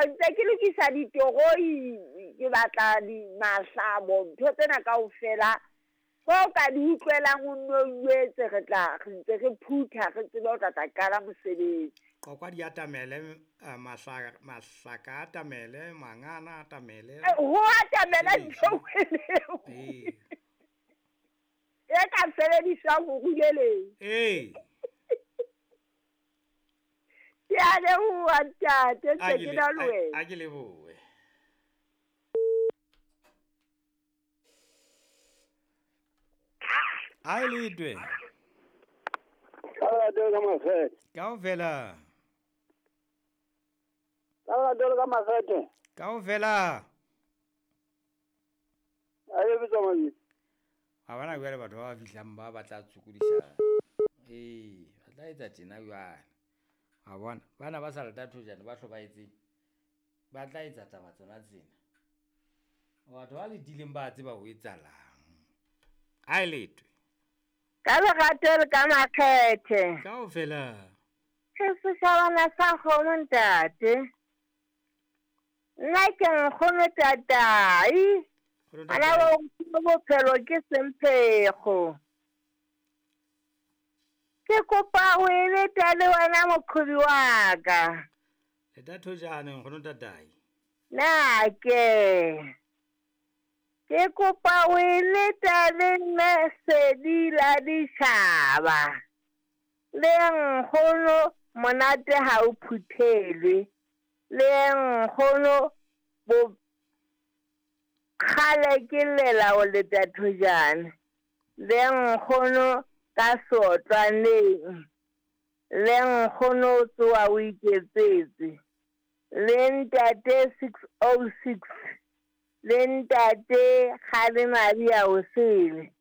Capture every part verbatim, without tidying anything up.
ntse ke lokisa ditoroi, ke batla di mahlabo, ntho tsena kaofela. Ho ka di utlwelang o nno o etse re tla re ntse re phutha re tsebe ho tla tla qala mosebetsi. Qokwa di atamele, mahlaka mahlaka atamele, mangana atamele. Ho atamela ntho e. E ka sebediswang ho ruleleng. Ee. Ke a leboha ntate, ntse ke na le wena. A ke lebohe. A letwe. Ka dole ka mafete. Kaofela. Ka dole ka mafete. Kaofela. A ye bitsa mabitso. Ha bana jwale batho ba ba fihlang ba batla tshokodisa. Eh, ba tla etsa tjena jwale. Ha bona, bana ba sa lata thojana ba hlobaetse. Ba tla etsa taba tsona tsena. Batho ba letileng ba tseba ho etsalang. A letwe. Ka lerato le ka makgethe. Kaofela. Ke seshabana sa kgomo ntate. Nna ke nkgono tatai. Ana bo bophelo ke semphego. Ke kopa ho eleta le wena moqhobi wa ka. Leta thojana nkgono tatai. Na ke Ke kopa o eleta le mme sedi la ditjhaba. Le nkgono monate ha o phuthelwe. Le nkgono bo kgale ke lela o leta thojana. Le nkgono ka sotlwaneng. Le nkgono o tsoha o iketsetse. Le ntate six oh six. Le ntate Kgale Maria o sele.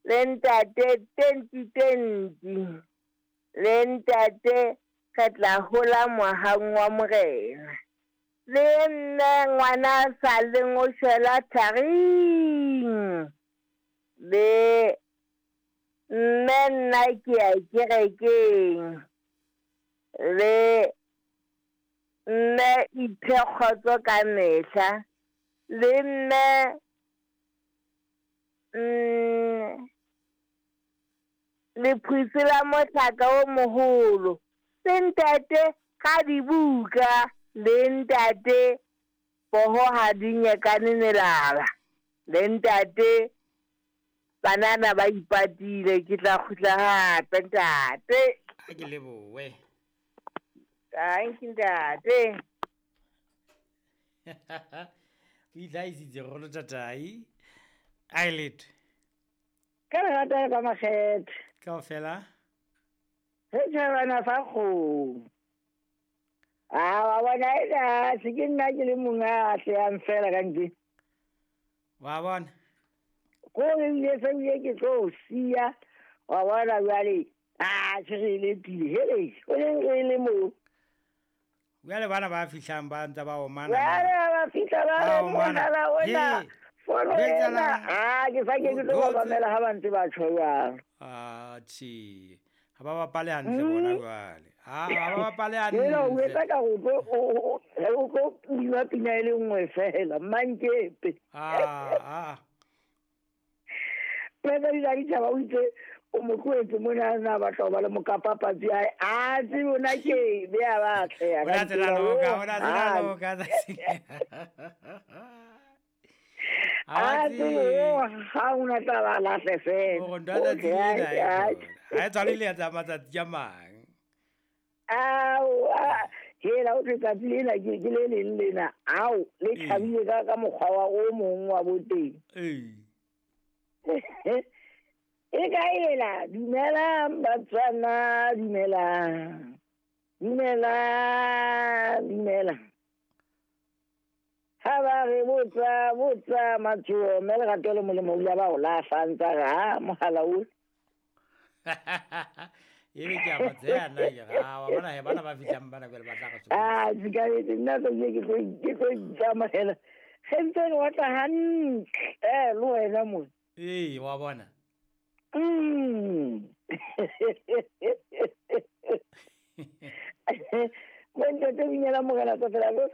Le ntate twenty twenty. Le ntate re tla hola mohang wa morena. Le nne ngwana sa leng o shwela tharing. Le mme nna ke ya kerekeng. Le mme iphe kgotso ka mehla. Le mme mm, lephutse la mohlaka o moholo. Le ntate ka dibuka. Le ntate poho ha di nyekane melala. Le ntate banana ba ipatile, ke tla kgutla hape ntate. A ke lebohe. Thank you ntate. O itlhahisitse kgolo tatai. A letwe. Ka lerato ka makgethe. Kaofela. Setjhabana sa kgomo. Ah, wa bona ena se ke nna ke le monga atlehang fela ka ntle. Wa bona. Ko re ile se ile ke tlo siya. Wa bona jwale. Ah, se re le pile. Hele, o le re le mo. Jwale bana ba fihlang ba ntse ba omana. Jwale ba fihla ba omana la ona. Fono ena. Ah, ke sa ke ke tlo ba mamela ha ba ntse ba tjho jwalo. Ah, tjhe. Ha ba bapale hantle bona jwale. Ah, ha ba bapale hantle. Ena o etsa ka ho tlo o tlo bina pina e le nngwe fela, mankepe. Ah, ah. Pele di ditjhaba o itse o mo tlohetse mona na batla ho ba le mokapapatsi hae. A tsebe ona ke be a batla ya ka. Ona tsela loka, ona tsela loka. A tsebe ha ona tla ba lahle fela. O ntwa tsatsi lena. Ha e tshwane le ya tsa matsatsi a mang. Ao, hela o tsatsi lena ke ke le leng lena. Ao, le thabile ka ka mokgwa wa o mong wa boteng. Ee. E ka ela, dumelang Batswana, dumelang. Dumelang, dumelang. Ha ba re botsa, botsa matsoho, mme lerato le molemo o ile ba o lahla ntsa re ha mohala o. Ebe ke a ba tseya nna ke re, ah, wa bona he bana ba fihlang bana jwale ba tla re sokodisa. Ah, sikarete nna ke ke tlo ke tlo itsamahela. Ge ntse re batla hantle, eh, le wena mo. Ee, wa bona. Mm. Mo ntate binyela morena tsa fela lo